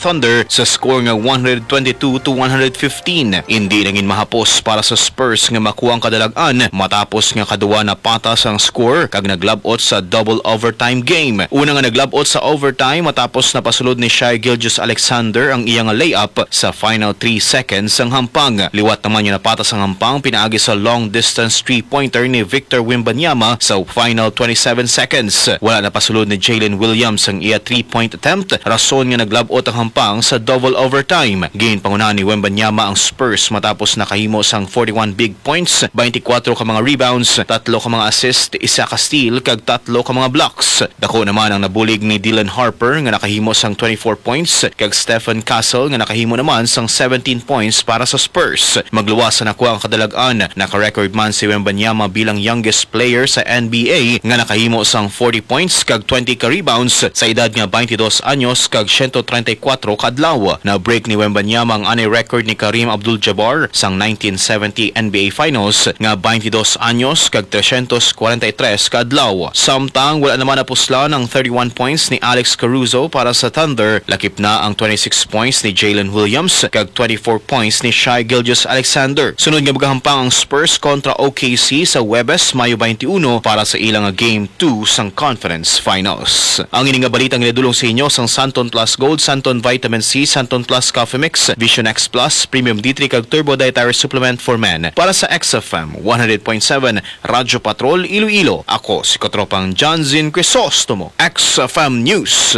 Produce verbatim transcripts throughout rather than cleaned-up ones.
Thunder sa score nga one hundred twenty-two to one hundred fifteen. Indi na gid mahapos para sa Spurs nga makuha ang kadalag-an matapos nga kaduwa na patas ang score kag naglab-ot sa double overtime game. Una nga naglab-ot sa overtime matapos napasulod ni Shai Gilgeous-Alexander ang iya nga layup sa final three seconds sang hampang. Liwat naman nga napatas ang hampang pinaagi sa long distance three-pointer ni Victor Wembanyama sa final twenty-seven seconds. Wala napasulod ni Jalen Williams ang iya three-point attempt, rason nga naglab-ot ang hampang sa double overtime. Ginpangunahan ni Wembanyama ang Spurs matapos nakahimo sang forty-one big points, twenty-four ka mga rebounds, tatlo ka mga assist, isa ka steal, kag tatlo ka mga blocks. Dako naman ang nabulig ni Dylan Harper nga nakahimo sang twenty-four points, kag Stephen Castle nga nakahimo naman sang seventeen points para sa Spurs. Magluwas sa nakuha ang kadalag-an, naka-record man si Wembanyama bilang youngest player sa N B A nga nakahimo sang forty points kag twenty ka rebounds sa edad nga twenty-dos anyos kag siyento treinta y kuwatro ka adlaw. Na-break ni Wembanyama ang anay record ni Kareem Abdul-Jabbar sang nineteen seventy N B A Finals nga twenty-dos anyos kag tresyentos kwarenta y tres ka adlaw. Samtang wala naman napuslan ang thirty-one points ni Alex Caruso para sa Thunder, lakip na ang twenty-six points ni Jalen Williams kag twenty-four points ni Shai Gilgeous-Alexander. Sunod nga magahampang ang Spurs kontra O K C sa Huwebes, Mayo twenty-one, para sa ilang Game two sang Conference Finals. Ang ini nga balita ang ginadulong sa inyo sang Santon Plus Gold, Santon Vitamin C, Santon Plus Coffee Mix, Vision X Plus, Premium D three kag Turbo Dietary Supplement for Men. Para sa X F M one hundred point seven Radyo Patrol Iloilo, ako si Katropang Johnson Crisostomo, X F M News.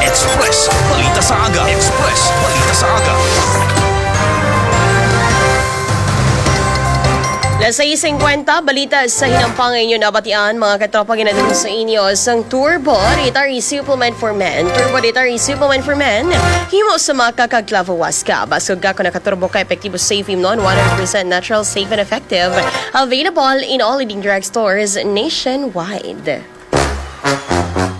Express Balita sa Aga. Express Balita sa Aga. Las sais cincuenta, balita sa hinampang nga inyo nabatian, mga katropa, ginadulong sa inyo sang Turbo Dietary Supplement for Men. Turbo Dietary Supplement for Men, himo sa maca kag clavo huasca. Basog ka kon nakaturbo ka, epektibo, safe, imnon, one hundred percent natural, safe and effective. Available in all leading drugstores nationwide.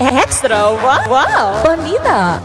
Extra wa-, wow! Balita!